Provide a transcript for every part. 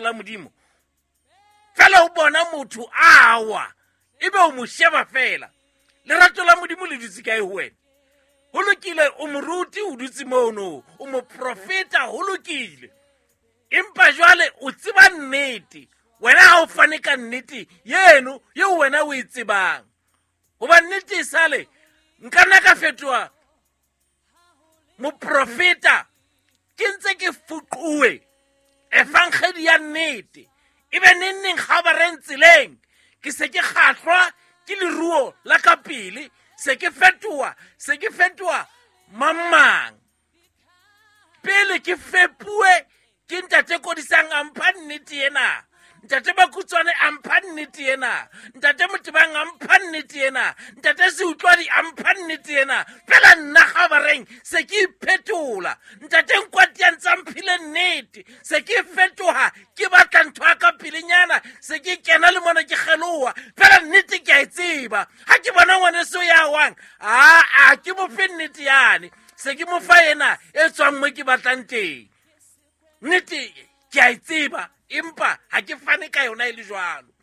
la Modimo? Fela o bona motho a wa, ebe o mo sheba fela. Lerato la Modimo le dutse kae ho wena? Ho lokile, o moruti, o dutse mono, o moprofeta, ho lokile. Empa jwale o tseba nnete. Wena ha o fane ka nnete yeno eo wena o e tsebang. Hoba nnete e sale, nka nna ka fetoha moprofeta, ke ntse ke fuquwe evangeli ya nnete. Ebe neng neng kgabareng tseleng, ke se ke kgahlwa ke leruo la ka pele, se ke fetoha mang. Pele ke fepuwe ke ntate Kodisang a mpha nnete ena, ntate Bakutswane a mpha nnete ena, ntate Motebang a mpha nnete ena, ntate Seutlwadi a mpha nnete ena. Fela nna kgabareng se ke iphetola, ntate Nkwati a ntse a mphile nnete, se ke fetoha, ke batla ntho ya ka pelenyana, se ke kena le mona ke kgeloha. Fela nnete ke a e tseba. Ha ke bona ngwaneso ya wang, aa ke mo fe nnete yane, se ke mo fa ena e tswang mo ke batlang teng. Nnete ke a e tseba, empa ha ke fane ka yona e le jwalo.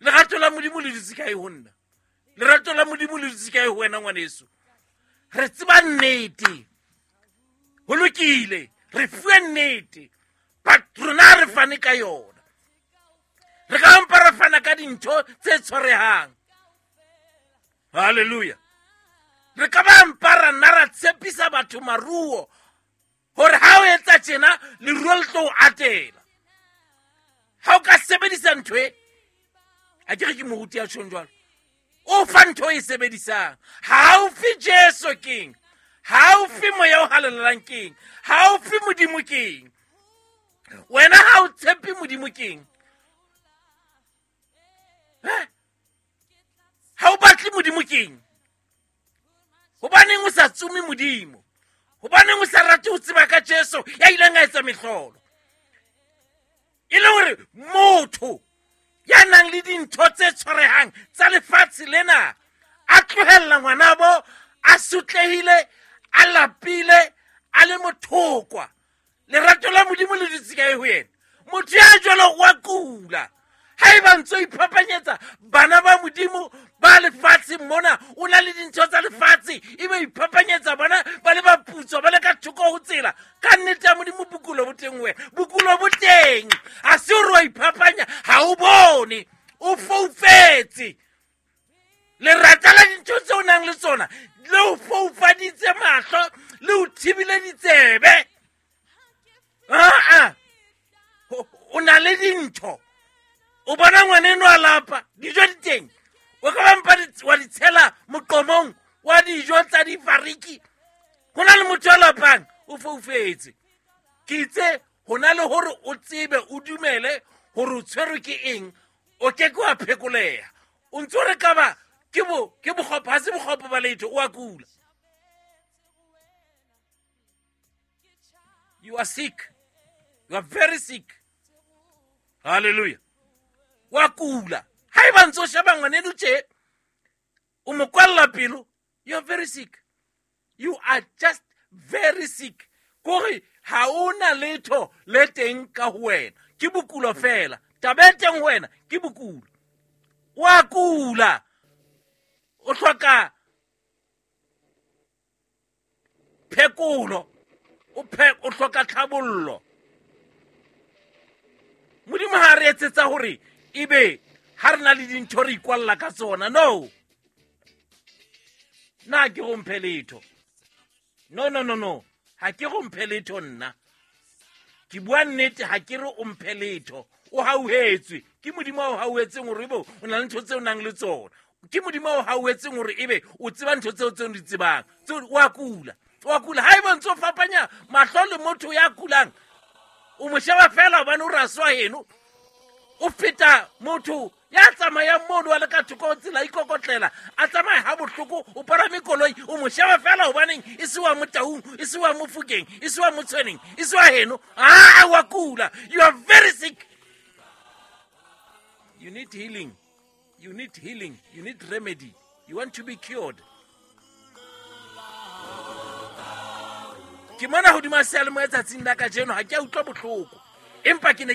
Lerato la Modimo le dutse kae ho nna? Lerato la Modimo le dutse kae ho wena ngwaneso? Re tseba nnete, ho lokile, re fuwe nnete, but rona re fane ka yona. Re ka mpa re fana ka dintho tse tshwarehang. Hallelujah. Re ka ba mpa ra nna ra tshepisa batho maruo hore ha o etsa tjena leruo le tlo o atela. Ha o ka sebedisa ntho e, ha ke re ke moruti ya tjhong jwalo, o fa ntho e sebedisang. Ha o fe Jesu keng? Ha o fe Moya o Halalelang keng? Ha o fe Modimo keng? Wena ha o tshepe Modimo keng? Ha o batle Modimo keng? Hobaneng o sa tsome Modimo? Hobaneng o sa rate ho tseba ka Jesu ya ileng a etsa mehlolo? E le hore motho ya nang le dintho tse tshwarehang tsa lefatshe lena a tlohella ngwanabo a sotlehile, a lapile, a le mothokwa. Lerato la Modimo le dutse kae ho yena? Motho ya jwalo wa kula. Haeba ntso iphapanyetsa bana ba Modimo ba lefatshe mona, o na le dintho tsa lefatshe, ebe iphapanyetsa bona ba le ba putswa, ba le ka thoko ho tsela. Ka nnete ya Modimo bokulo bo teng wena, bokulo bo teng. Ha se hore wa iphapanya, ha o bone, o foufetse. Lerata la dintho tseo o nang le tsona le o foufaditse mahlo, le o thibile ditsebe. Aa, o na le dintho, o bona ngwaneno a lapa, dijo di teng, o ka ba mpa wa di tshela moqomong wa dijo tsa difariki. Ho na le motho a lapang, o foufetse. Ke itse ho na le hore o tsebe, o dumele hore o tshwerwe ke eng, o ke ke wa phekoleha. O ntso re ka ba ke bokgopo, ha se bokgopo ba letho, o a kula. You are sick. You are very sick. Hallelujah. Wa kula. Haeba ntso sheba ngwaneno tje, o mo kwalla pelo, you are very sick. You are just very sick. Kore ha ona letho le teng ka ho wena. Ke bokulo fela. Taba e teng ho wena ke bokulo. Wa kula. O hloka phekolo. O hloka tlhabollo. Modimo ha re etsetsa hore ebe ha re na le dintho re ikwalla ka tsona. No. Nna ke go mphe letho. No, no, no, no. Ha ke go mphe letho nna. Ke bua nnete, ha ke re o mphe letho. O hauhetswe. Ke Modimo a o hauhetseng hore ebe o na le ntho tseo o nang le tsona. Ke Modimo a o hauhetseng hore ebe o tseba ntho tseo tseo o di tsebang. Tseo o a kula. O a kula. Haeba ntse o fapanya mahlo le motho ya kulang, o mo sheba fela hobane o raswa heno, o feta motho ya tsamayang mono a le ka thoko ho tsela, a ikokotlela, a tsamaye ha bohloko, o palame koloi, o mo sheba fela hobaneng e se wa Motaung, e se wa Mofokeng, e se wa Motshweneng, e se wa heno. Ah, wa kula. You are very sick. You need healing. You need healing. You need remedy. You want to be cured. Ke mona hodima seyalemoya tsatsing la kajeno, ha ke a utlwa bohloko, empa ke ne ke